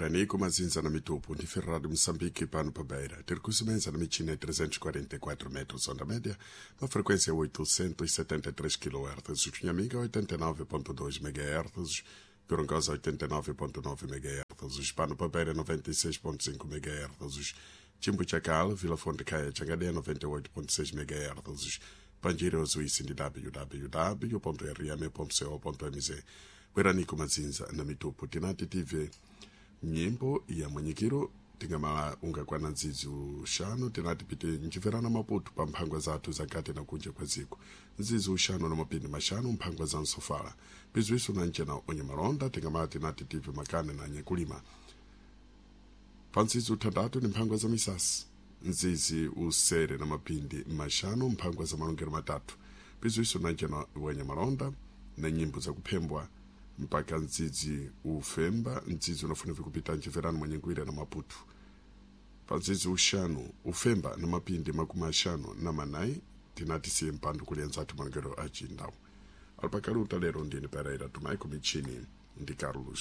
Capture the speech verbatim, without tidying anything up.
Bweraniko mazinza na mitupu ndi Ferrari Moçambique pano pa Beira. Tiri kusemenza na michina ya trezentos e quarenta e quatro metros onda média, na frequência oitocentos e setenta e três quilohertz, Cunhamiga oitenta e nove ponto dois megahertz, Gorongosa oitenta e nove ponto nove megahertz, Pano pa Beira noventa e seis ponto cinco megahertz, Chimbo Chacal, Vila Fonte Caia, Changadeia noventa e oito ponto seis megahertz, Panjira Ozuísi ndi w w w ponto r m ponto co ponto m z. Bweraniko mazinza na mitupu, tinati tive nyimbo ya mwenyekiro tingamala ungakwana nzizi uxanu, tinati pite njiverana Maputo pa mphangwa zathu zakati na kunja kwa ziko nzizi uxanu na mapindi maxanu mphangwa za nsofala piziwiso na ncena onye malonda, tingamala tinati tive makane na nyekulima pa nzizi uthandatu ni mphangwa za misasi, nzizi usere na mapindi maxanu mphangwa za malongero matatu piziwiso na ncena wenye malonda na nyimbo zakuphembwa mpaka ndzidzi ufemba, ndzidzi unafuna vikupita njiverano mwenyengwira na Maputo pa ndzidzi uxanu ufemba na mapindi makumi axanu na manayi, tinati siye mpando kulienza athu malongero achindawu alipakaluta lero ndini Pereira Tumaiko, michini ndi Carlos.